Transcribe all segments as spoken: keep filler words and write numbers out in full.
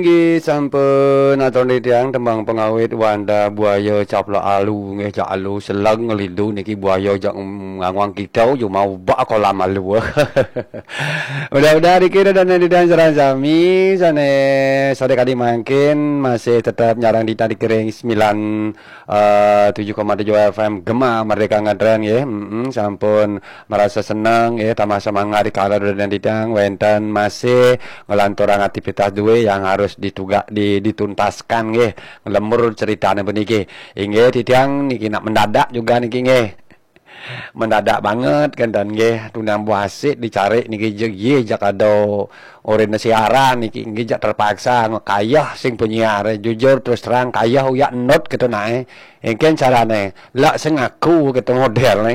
Inggih sampun atur titiang tembang pengawit Wanda Buaya Caplok Alu nggih, jak alu seleng ngelidu niki buaya jak nganguang kita cuma ubak kolam alu. Mudah-mudahan niki dan titiang sareng sami sane sore kadi mangkin masih tetap nyarang titiang di kering sembilan eh, tujuh koma tujuh F M Gema Merdeka Ngetren nggih. Mm-mm, sampun merasa senang nggih, tambah semangat di kala dan titiang wenten masih ngelanturang aktivitas duwe yang harus ditugak di, dituntaskan nggih. Lembur ceritane puniki. Inggih titiang niki nak mendadak juga niki nggih. Mendadak banget kan dan nggih, tunang buasik dicari niki je ye jak ada orene siaran niki nggih, jak terpaksa kayah sing penyiar, jujur terus terang kayah uyak enut gitu nae. Engken carane lak sing aku gitu model ne.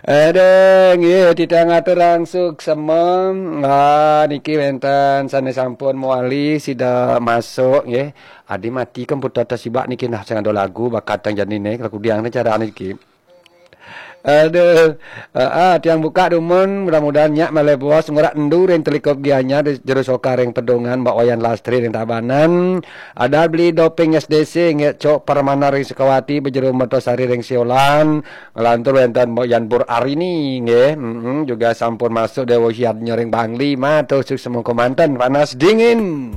Aduh, nggih, titiang aturang suksema. Ah, niki wenten sane sampun mewali sida masuk nggih. Adi mati komputer tasibak niki nah sing ada lagu bakat tang janine, kalau kudiang ne cara niki. Aduh, ah, ah, tiang buka dumun, mudah-mudahan nyak malih bos ngurak endu ring telikup gianyar di jero soka ring pedungan Mbak Wayan Lastri ring Tabanan. Ada beli doping S D C nggih, Cok Permana ring Sukawati, Bejero Mertosari ring Siolan, ngelantur wenten Mbok Yan Pur Arini nggih. Mm-mm, juga sampun masuk Dewa Hiat nyoring Bangli, matur suksema kemanten panas dingin.